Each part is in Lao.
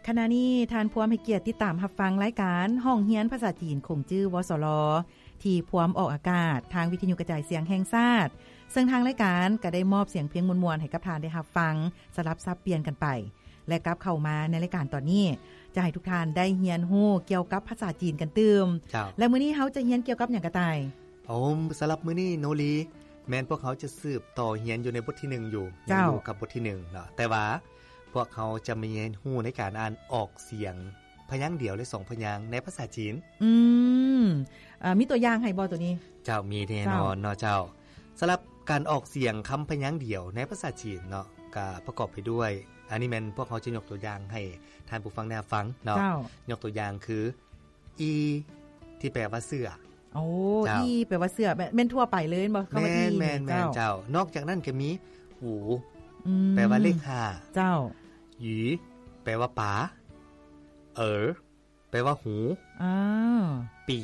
ຂະນະນີ້ທ່ານພວມໃຫ້ກຽດຕິດຕາມຮັບຟັງລາຍການຫ້ອງຮຽນພາສາຈີນຂົງຈື່ ວສລ ທີ່ພວມອອກອາກາດທາງວິທະຍຸກະຈາຍສຽງແຫ່ງຊາດ, ເຊິ່ງທາງລາຍການກະໄດ້ມອບສຽງເພງມ່ວນໆໃຫ້ກັບທ່ານໄດ້ຮັບຟັງ ສະຫຼັບສັບປ່ຽນກັນໄປ ແລະ ກັບເຂົ້າມາໃນລາຍການຕອນນີ້ ຈະໃຫ້ທຸກທ່ານໄດ້ຮຽນຮູ້ກ່ຽວກັບພາສາຈີນກັນຕື່ມ. ເຈົ້າ. ແລະ ມື້ນີ້ເຮົາຈະຮຽນກ່ຽວກັບຫຍັງກະຕ່າຍ? ໂອ ສຳລັບມື້ນີ້ໂນລີ ແມ່ນພວກເຮົາຈະສືບຕໍ່ຮຽນຢູ່ໃນບົດທີໜຶ່ງຢູ່ ເຈົ້າ. ຍັງຢູ່ກັບບົດທີໜຶ່ງເນາະ ແຕ່ວ່າພວກເຮົາຈະມາຮຽນຮູ້ໃນການອ່ານອອກສຽງພະຍາງດຽວ ແລະ ສອງພະຍາງໃນພາສາຈີນ. ອືມ ເອີ ມີຕົວຢ່າງໃຫ້ບໍ່ໂຕນີ້? ເຈົ້າ ມີແນ່ນອນເນາະ ເຈົ້າ. ເຈົ້າ. ສຳລັບການອອກສຽງຄຳພະຍາງດຽວໃນພາສາຈີນເນາະ ກະປະກອບໄປດ້ວຍ ອັນນີ້ແມ່ນພວກເຮົາຈະຍົກຕົວຢ່າງໃຫ້ທ່ານຜູ້ຟັງໄດ້ຮັບຟັງເນາະ. ເຈົ້າ. ຍົກຕົວຢ່າງຄື ອີ ທີ່ແປວ່າເສື້ອ. ໂອ້ ເຈົ້າ. ອີ ແປວ່າເສື້ອ ແມ່ນ ແມ່ນທົ່ວໄປເລີຍແມ່ນບໍ່? ຄຳວ່າ ແມ່ນ ອີ ແມ່ນ ແມ່ນ ເຈົ້າ. ເຈົ້າ. ນອກຈາກນັ້ນກະມີ ຫູ ອືມ ແປວ່າເລກຫ້າ. ເຈົ້າ. ຫຢີ ແປວ່າປາ. ເອີ ແປວ່າຫູ. ອາ ປີ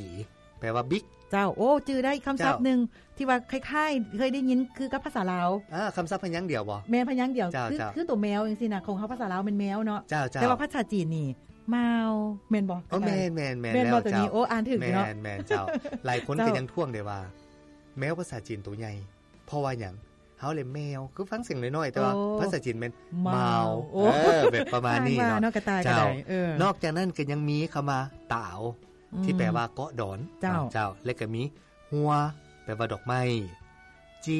ແປວ່າບິກ. ເຈົ້າ. ໂອ້ ຈື່ໄດ້ຄຳສັບ ເຈົ້າ ໜຶ່ງ ທີ່ວ່າຄ້າຍໆ ເຄີຍໄດ້ຍິນຄືກັບພາສາລາວ. ອາ ຄຳສັບພະຍາງດຽວບໍ່? ແມ່ນພະຍາງດຽວ. ເຈົ້າ ຄື ເຈົ້າ. ຄືໂຕແມວຈັ່ງຊີ້ນະ ຂອງເຮົາພາສາລາວແມ່ນແມວເນາະ. ເຈົ້າ ເຈົ້າ. ແຕ່ວ່າພາສາຈີນນີ້ ມາວ ແມ່ນບໍ່? ໂອ້ ແມ່ນ ແມ່ນ ແມ່ນ ແມ່ນບໍ່ ແລ້ວ ໂຕນີ້? ເຈົ້າ. ໂອ້ ອ່ານຖືກເນາະ. ແມ່ນ ແມ່ນ ເຈົ້າ. ຫຼາຍຄົນ ເຈົ້າ ກະຍັງທ້ວງເດ້ວ່າ ແມວພາສາຈີນໂຕໃຫຍ່ ເພາະວ່າຫຍັງ? ເຮົາເລີຍແມວ ຄືຟັງສຽງນ້ອຍໆ ແຕ່ວ່າ ໂອ້ ພາສາຈີນແມ່ນ ມາວ ມາວ. ໂອ້ ເອີ ແບບປະມານນີ້ເນາະ. ວ່າເນາະ ກະຕ່າຍ ເຈົ້າ. ກະໄດ້ ເອີ ນອກຈາກນັ້ນກະຍັງມີຄຳວ່າ ຕາວ ອືມ ທີ່ແປວ່າເກາະດອນ. ເຈົ້າ. ເຈົ້າ. ແລະກະມີ ຫົວ ແປວ່າດອກໄມ້. ຈີ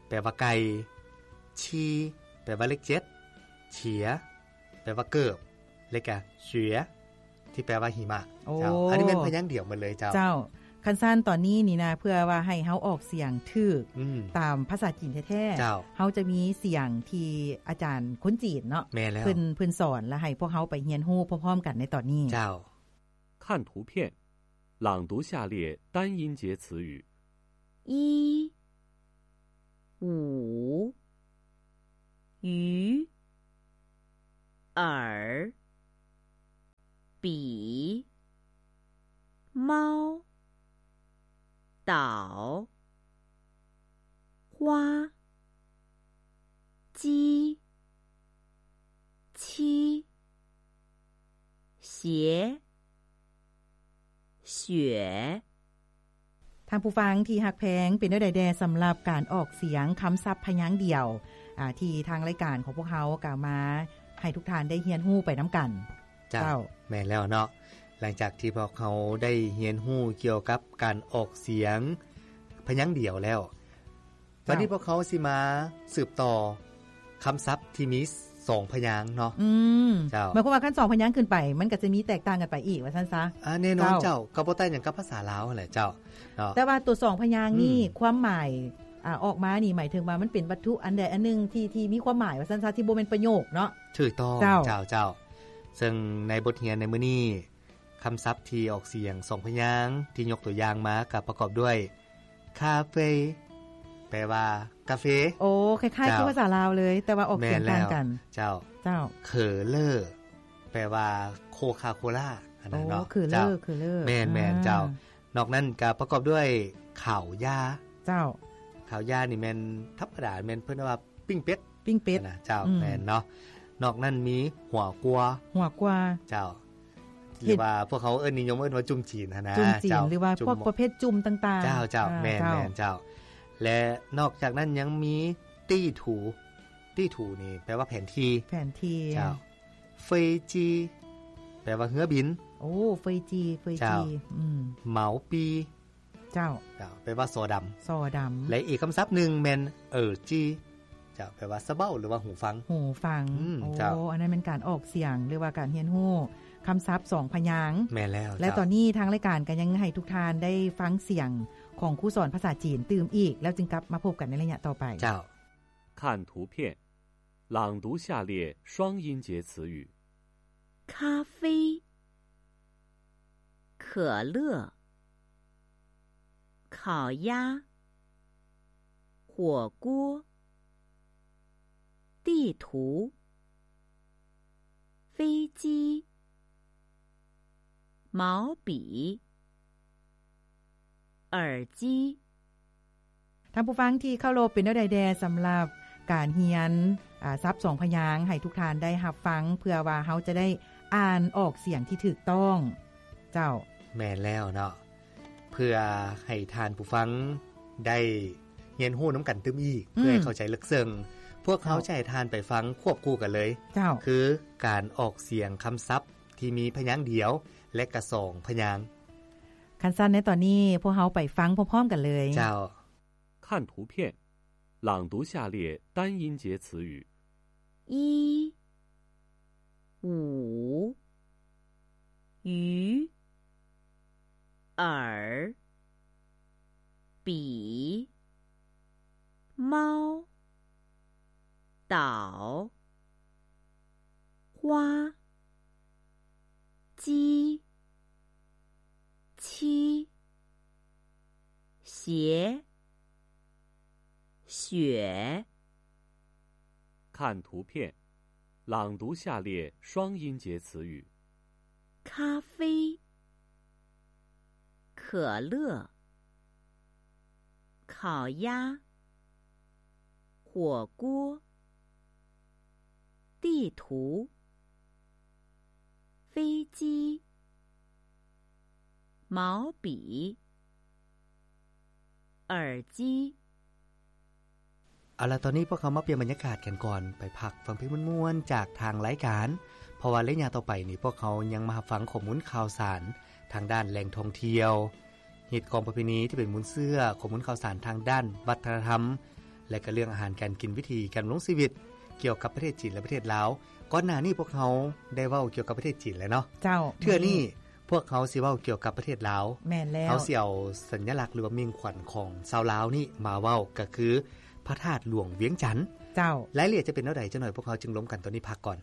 ແປວ່າໄກ່. ຊີ ແປວ່າເລກເຈັດ. ເສຍ ແປວ່າເກີບ ແລະກະ ເສຍ ທີ່ແປວ່າຫິມະ. ໂອ້ ເຈົ້າ. ອັນນີ້ແມ່ນພະຍາງດຽວໝົດເລີຍເຈົ້າ. ເຈົ້າ. ຄັນຊັ້ນຕອນນີ້ນີ້ນະ ເພື່ອວ່າໃຫ້ເຮົາອອກສຽງຖືກ ອືມ ຕາມພາສາຈີນແທ້ໆ ເຈົ້າ ເຮົາຈະມີສຽງທີ່ອາຈານຄົນຈີນເນາະ ແມ່ນແລ້ວ ເພິ່ນ ເພິ່ນສອນ ແລະ ໃຫ້ພວກເຮົາໄປຮຽນຮູ້ພ້ອມໆກັນໃນຕອນນີ້. ເຈົ້າ. 看图片，朗读下列单音节词语。一、五、鱼、耳、笔、猫、岛、花、鸡、七、 鞋、雪。ທ່ານຜູ້ຟັງທີ່ຮັກແພງ ເປັນແນວໃດແດ່ສຳລັບການອອກສຽງຄຳສັບພະຍາງດຽວ ອາ ທີ່ທາງລາຍການຂອງພວກເຮົາກະມາໃຫ້ທຸກທ່ານໄດ້ຮຽນຮູ້ໄປນຳກັນ? ເຈົ້າ. ເຈົ້າ. ແມ່ນແລ້ວເນາະ ຫຼັງຈາກທີ່ພວກເຮົາໄດ້ຮຽນຮູ້ກ່ຽວກັບການອອກສຽງພະຍາງດຽວແລ້ວ ບາດນີ້ ເຈົ້າ ພວກເຮົາຊິມາສືບຕໍ່ຄຳສັບທີ່ມີສອງພະຍາງເນາະ. ອືມ ເຈົ້າ. ໝາຍຄວາມວ່າຄັນສອງພະຍາງຂຶ້ນໄປ ມັນກະຈະມີແຕກຕ່າງກັນໄປອີກວ່າຊັ້ນຊະ. ອາ ແນ່ນອນ ເຈົ້າ ເຈົ້າ ກະບໍ່ຕ່າງຫຍັງກັບພາສາລາວຫັ້ນແຫຼະເຈົ້າເນາະ. ແຕ່ວ່າໂຕສອງພະຍາງນີ້ ອືມ ຄວາມໝາຍ ອາ ອອກມານີ້ ໝາຍເຖິງວ່າມັນເປັນວັດຖຸອັນໃດອັນໜຶ່ງທີ່ ທີ່ມີຄວາມໝາຍວ່າຊັ້ນຊະ ທີ່ບໍ່ແມ່ນປະໂຫຍກເນາະ. ຖືກຕ້ອງ ເຈົ້າ ເຈົ້າ ເຈົ້າ. ເຊິ່ງໃນບົດຮຽນໃນມື້ນີ້ ຄຳສັບທີ່ອອກສຽງສອງພະຍາງທີ່ຍົກຕົວຢ່າງມາກະປະກອບດ້ວຍ ຄາເຟ ແປວ່າກາເຟ. ໂອ້ ຄ້າຍໆ ເຈົ້າ ຄືພາສາລາວເລີຍ ແຕ່ວ່າອອກສຽງຕ່າງກັນ. ແມ່ນແລ້ວ ເຈົ້າ. ເຈົ້າ. ເຂີເລີ ແປວ່າໂຄຄາໂຄລາ ອັນນັ້ນເນາະ. ໂອ້ ເຂີເລີ ເຈົ້າ ເຂີເລີ. ແມ່ນໆ ເຈົ້າ. ອາ ນອກນັ້ນກະປະກອບດ້ວຍ ຂາວຢາ. ເຈົ້າ. ຂາວຢານີ້ແມ່ນທຳມະດາ ແມ່ນເພິ່ນວ່າ ປີ້ງເປັດ ປີ້ງເປັດນະ ເຈົ້າ. ອືມ ແມ່ນເນາະ. ນອກນັ້ນມີຫົວກົວ ຫົວກົວ. ເຈົ້າ. ເຮັດ ຫຼືວ່າພວກເຮົາເອີ້ນ ນິຍົມເອີ້ນວ່າຈຸ່ມຈີນຫັ້ນນະ. ຈຸ່ມຈີນ ເຈົ້າ ຫຼືວ່າ ຈຸ່ມ ພວກປະເພດຈຸ່ມຕ່າງໆ. ເຈົ້າ ເຈົ້າ. ອາ ແມ່ນ ເຈົ້າ ແມ່ນ ເຈົ້າ. ແລະ ນອກຈາກນັ້ນຍັງມີ ຕີ້ຖູ ຕີ້ຖູນີ້ແປວ່າແຜນທີ່ ແຜນທີ່. ເຈົ້າ. ເຟີຍຈີ ແປວ່າເຮືອບິນ. ໂອ້ ເຟີຍຈີ ເຟີຍຈີ. ເຈົ້າ. ອືມ ເໝົາປີ. ເຈົ້າ. ເຈົ້າ ແປວ່າສໍດຳ ສໍດຳ. ແລະ ອີກຄຳສັບໜຶ່ງແມ່ນ ເອີຈີ ເຈົ້າ ແປວ່າສະເບົ້າ ຫຼືວ່າຫູຟັງ. ຫູຟັງ. ອືມ ໂອ້ ເຈົ້າ. ອັນນັ້ນແມ່ນການອອກສຽງ ຫຼືວ່າການຮຽນຮູ້ຄຳສັບສອງພະຍາງ. ແມ່ນແລ້ວ ແລະ ເຈົ້າ. ຕອນນີ້ທາງລາຍການກະຍັງໃຫ້ທຸກທ່ານໄດ້ຟັງສຽງຂອງຄູສອນພາສາຈີນຕື່ມອີກ ແລ້ວຈຶ່ງກັບມາພົບກັນໃນໄລຍະຕໍ່ໄປ. ເຈົ້າ. 看图片，朗读下列双音节词语。咖啡、可乐、烤鸭、火锅、地图、飞机、毛笔、 耳机. ທ່ານຜູ້ຟັງທີ່ເຄົາລົບ, ເປັນແນວໃດແດ່ສຳລັບການຮຽນ ອາ ສັບສອງພະຍາງໃຫ້ທຸກທ່ານໄດ້ຮັບຟັງ ເພື່ອວ່າເຮົາຈະໄດ້ອ່ານອອກສຽງທີ່ຖືກຕ້ອງ. ເຈົ້າ. ແມ່ນແລ້ວເນາະ. ເພື່ອໃຫ້ທ່ານຜູ້ຟັງໄດ້ຮຽນຮູ້ນຳກັນຕື່ມອີກ ອືມ ເພື່ອໃຫ້ເຂົ້າໃຈເລິກເຊິ່ງ, ພວກເຮົາ ເຈົ້າ ຈະໃຫ້ທ່ານໄປຟັງຄວບຄູ່ກັນເລີຍ. ເຈົ້າ. ຄືການອອກສຽງຄຳສັບທີ່ມີພະຍາງດຽວ ແລະ ກະສອງພະຍາງ. ຄັນຊັ້ນໃນຕອນນີ້ ພວກເຮົາໄປຟັງພ້ອມໆກັນເລີຍ. ເຈົ້າ. 看图片，朗读下列单音节词语。一、五、鱼、耳、笔、猫、岛、花、鸡、七、鞋、 雪。看图片，朗读下列双音节词语。咖啡、可乐、烤鸭、火锅、地图、飞机、毛笔、 耳机。 ເອົາລະ ຕອນນີ້ພວກເຮົາມາປ່ຽນບັນຍາກາດກັນກ່ອນ ໄປພັກຟັງເພງມ່ວນໆຈາກທາງລາຍການ, ເພາະວ່າໄລຍະຕໍ່ໄປນີ້ ພວກເຮົາຍັງມາຮັບຟັງຂໍ້ມູນຂ່າວສານທາງດ້ານແຫຼ່ງທ່ອງທ່ຽວ, ຮີດຄອງປະເພນີທີ່ເປັນມູນເຊື້ອ, ຂໍ້ມູນຂ່າວສານທາງດ້ານວັດທະນະທຳ ແລະ ກະເລື່ອງອາຫານການກິນ, ວິທີການດຳລົງຊີວິດ ກ່ຽວກັບປະເທດຈີນ ແລະ ປະເທດລາວ. ກ່ອນໜ້ານີ້ພວກເຮົາໄດ້ເວົ້າກ່ຽວກັບປະເທດຈີນແລ້ວເນາະ. ເຈົ້າ. ເທື່ອນີ້ ພວກເຮົາຊິເວົ້າກ່ຽວກັບປະເທດລາວ. ແມ່ນແລ້ວ. ເຮົາຊິເອົາສັນຍະລັກ ຫຼືວ່າມິ່ງຂວັນຂອງຊາວລາວນີ້ມາເວົ້າ ກໍຄືພະທາດຫຼວງວຽງຈັນ. ເຈົ້າ. ລາຍລະອຽດຈະເປັນແນວໃດ ຈັກໜ້ອຍພວກເຮົາຈຶ່ງລົມກັນ. ຕອນນີ້ພັກກ່ອນ.